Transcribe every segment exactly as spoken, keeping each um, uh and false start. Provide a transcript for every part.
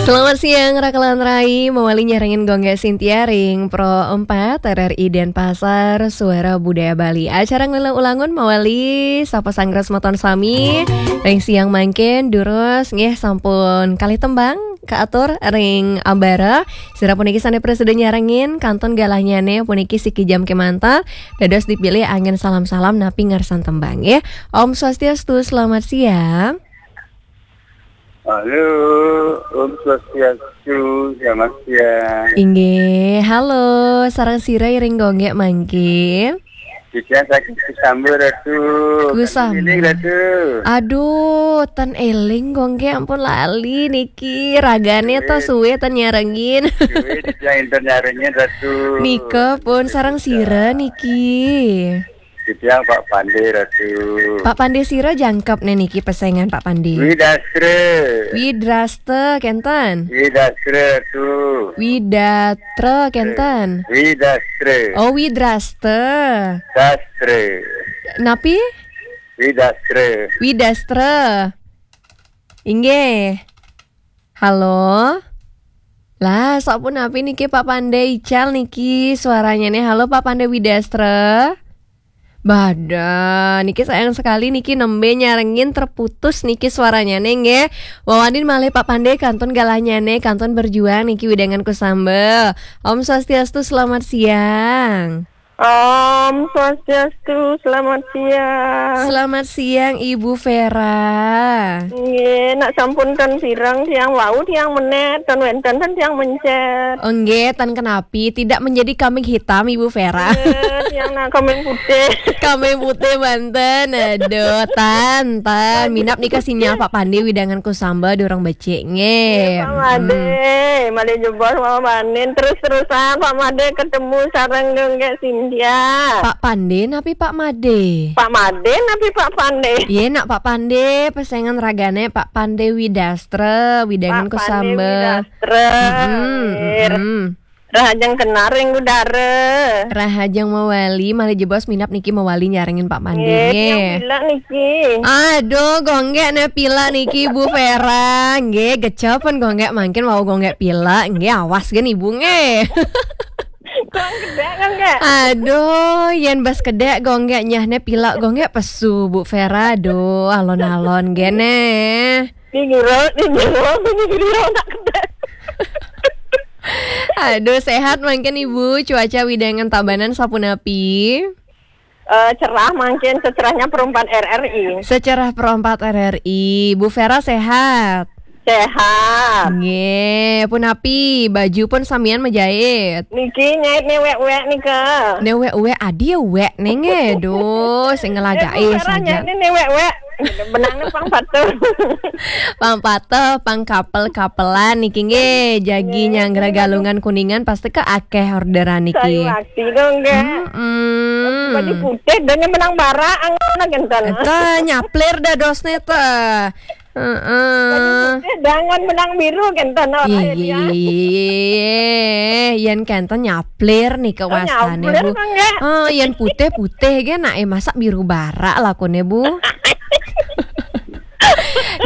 Selamat siang, Raka lan Rai. Mawali nyarengin Gung Gek Sintia ring Pro empat R R I Denpasar, Suara Budaya Bali. Acara Ngilu Ulangun mawali sapa sanggres semeton sami. Ring siang mangkin, durus nggih sampun kalih tembang kaatur ring ambara. Sira puniki sane prasida nyarengin, kantun galahnyane puniki siki jam kemanten. Dados dipilih anggen salam-salam napi ngarsan tembang nggih. Om Swastiastu, selamat siang. Halo, Om Swastiastu, selamat siang. Inggih, halo, sareng sira ring Gung Gek mangkin? Titiang saking Kusamba, Ratu. Kusamba. Eling, Ratu. Aduh, ten eling Gung Gek, ampun lali niki. Ragane to suwe ten nyarengin. Suwe titiang enten nyarengin, Ratu. Nika pun sareng sira niki. Titiang Pak Pande, Ratu. Pak Pande sira jangkep ne niki pesengan Pak Pande. Widastra. Widrasta kenten. Widastra, Ratu. Widatra kenten. Widastra. Oh, Widrasta. Dastra. Napi? Widastra. Widastra. Inggih. Halo. Lah, sapunapi niki Pak Pande ical niki suaranyane. Halo Pak Pande Widastra. Bada, niki sayang sekali niki nembe nyarengin terputus niki suaranyane nggih. Wawanin malih Pak Pande kantun galahnyane, kantun berjuang niki wedangan Kusamba. Om Swastiastu, selamat siang. Om Swastiastu, selamat siang. Selamat siang Ibu Vera. Nggih, nak sampun ten pireng tiang wau tiang menet, ten wenten ten tiang mencet. Oh, nggih, ten kenapi, tidak menjadi kambing hitam Ibu Vera. Nggih, tiang nak kambing putih. Kambing putih banten. Aduh, tan, tan. Minap nika sinyal Pak Pande wedangan Kusamba durung becik nggih. Nggih, Pak Made. Hmm. Malih jebos Pak Made. Terus-terusan Pak Made ketemu sareng Gung Gek Sintia. Pak Pande napi Pak Made? Pak Made napi Pak Pande? Iya, nak Pak Pande, pesengan ragane Pak Pande Widastra, wedangan Kusamba. Pak Pande Widastra. Mm-mm, nggih. Mm-mm. Rahajeng kenar ring udara. Rahajeng mawali, malih jebos minap niki mawali nyarengin Pak Mande nggih. Nggih, tiang pilek niki. Aduh, Gung Gek ne pilek niki Bu Vera. Nggih, gecepen Gung Gek mangkin wau Gung Gek pilek. Nggih, awas gen Ibu nggih. Kurang kedek kan, Kak? Aduh, yen bas kedek Gung Gek nyah ne pilek Gung Gek pesu Bu Vera. Aduh, alon-alon gene. Di giro, di giro, di giro nak kedek. Aduh, sehat mangkin Ibu. Cuaca wedangan Tabanan sapunapi? Eh, cerah mangkin, secerahnya Pro empat R R I. Secerah Pro empat R R I. Bu Vera sehat? Sehat. Nggih, punapi, baju pun samian majait? Niki nyait newek-wek nika. Newek-wek, adi wek nenge. Duh, sing ngelagake. Eh, Bu Vera saja. Nyait newek-wek. Benangnya pang patuh. Pang patuh, pang kapel-kapelan niki nggih. Jagi nggih, nyanggra nggih. Galungan Kuningan pasti ke akeh orderan niki. Sayu akti dong, nggih. Mm-mm. Baju putih dan yang menang bara, angin kenten. Eta nyaplir dadosne teh. Heeh. Baju putih dangan menang biru kenten, oh, iya, iya, iya, iya, iya. Yen kenten nyaplir nih ke wastane, nyaplir Bu. Oh, nggih. Oh, yen putih-putih ge nak, eh, masa biru bara lakune, Bu?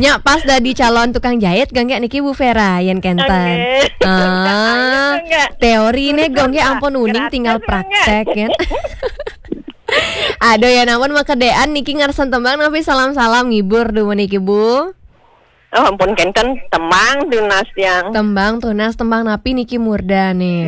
Nya pas dadi calon tukang jahit, Gung Gek niki Bu Vera, yen kenten. Nggih. Ah, ayo, Gung Gek. Teori ne, Gung Gek, ampun uning, tinggal praktek, kan. Aduh, ya ampun, makedean niki ngarsan tembang napi salam-salam ngibur dumun niki, Bu? Oh, ampun kenten tembang tunas yang. Tembang tunas, tembang napi niki murdane?